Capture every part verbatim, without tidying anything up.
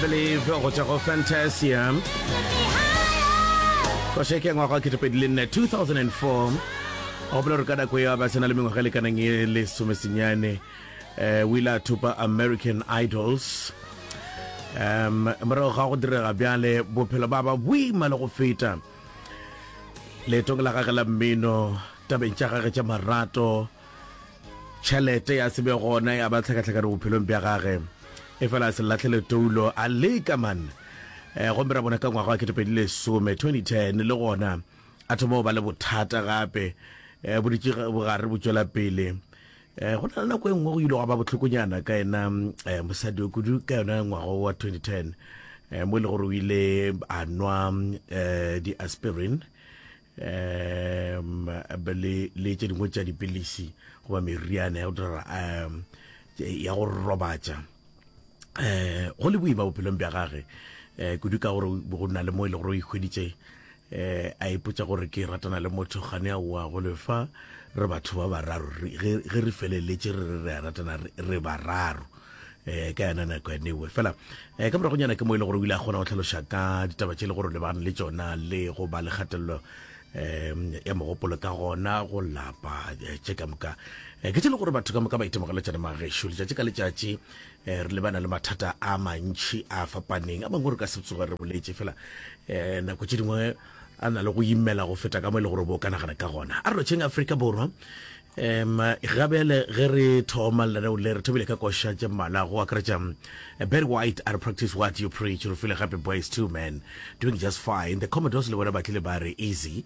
Believe go tšwa go Fantasia. Koša ke ya ngwaga wa ketepedi le nne, two thousand and four. Gopola gore ka nako eo a ba sena le mengwaga e lekanang e lesomesenyane, um o ile a thopa American Idols. um morago ga go direga bjale, bophelo ba ba boima le go feta leetong la gage la mmino, tabeng tša gage tša marato, tšhelete ya se be gona, ya ba tlhakatlhakane bophelong bja gage. E fela a se latlhele toulo, a leka man. um gomme ra bona ka ngwaga wa ketepedi lesome, twenty ten, le gona a thoma go ba le bothata gape, um boditše bogare bo tšwela pele. um go na le nako e nngwe go ile gwa ba bohlokonyana ka yena um mosadi o kudu ka yona ngwaga wa twenty ten, um mo e le gore o ile a nwa um di-aspirin um le le tše dingwe tša dipilisi goba meriana ya go dira um ya go robatša. um go le boima bophelong bja gage, um kudu ka gore go na le mo e le gore o ikhweditše um a ipotsa gore ke ratana le motho gane a oa go lefa, re batho ba bararo. Ge re feleletše re re re a ratana, re bararo um ka yona nako yanewe fela. um ka moragonyana ke mo e le gore o ile a kgona go tlhaloša ka ditaba tše le gore o lebagane le tšona, le go ba le kgatelelo um ya mogopolo, ka gona go lapa. Tše ka moka ke tše le gore batho ka moka ba itemogela tšona magešo letšatši ka letšatši. um re lebana le mathata a mantšhi a fapaneng, a mangwe re ka se tsoge re boletše fela, um nako tše dingwe a na le go imela go feta ka mo e le gore bo ka nagana ka gona. A re lotšheng Afrika Borwa. um gabele ge re thoma lenaneo le, re thomile ka koša tše mmalwa, go akaretša Barry White a re "Practice What You Preach". Re file gape Boyz Two Men, "Doing Just Fine". The Commodores le bona ba tlile ba re "Easy".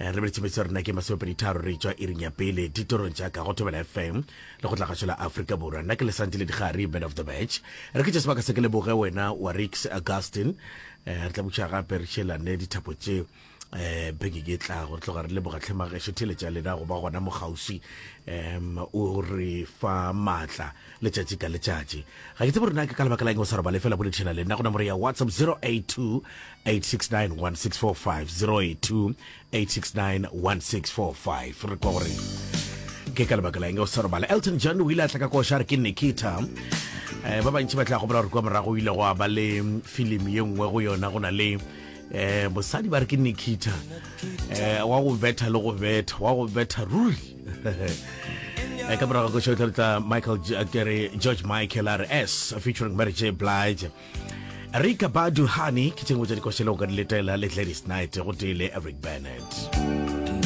Re lebeletše metsotso rena ke masomepedi tharo re tšwa iring ya pele ditorong tša ka go Thobela F M le go tlagašo la Afrika Borwa. Nna ke Lesante le Digari, man of the match. Re ke tše sebaka se ke leboge wena wa Rix Augustin. um re tla buša gape re šelane dithapo tše um beke ke tlago. Re tloga re leboga tlhemagešo theletša lena go ba gona mokgauswi, um o re fa maatla letšatši ka letšatši. Ga ke tsebe gore na ke ka lebaka la eng o sa robale, fela boledišana le nna go nomoro ya WhatsApp zero eight two, eight six nine, one six four five, zero eight two, eight six nine, one six four five. Re kwa gore ke ka lebaka la eng o sa robala. Elton John o ile a tla ka koša re ke Nikita. um ba bantši ba tla gopola gore kua morago o ile go a ba le filimi ye nngwe, go yona go na le um mosadi ba re ke Nikita, um wa go betha le go betha, wa go betha ruri. Eh, ka morago koša o tla Michael, kere George Michael a re "S" featuring Mary J Blige. Erykah Badu, "Honey", ke tše nngwe tša dikoša le go ka di letela, le Gladys Knight go tee le Eric Bennett.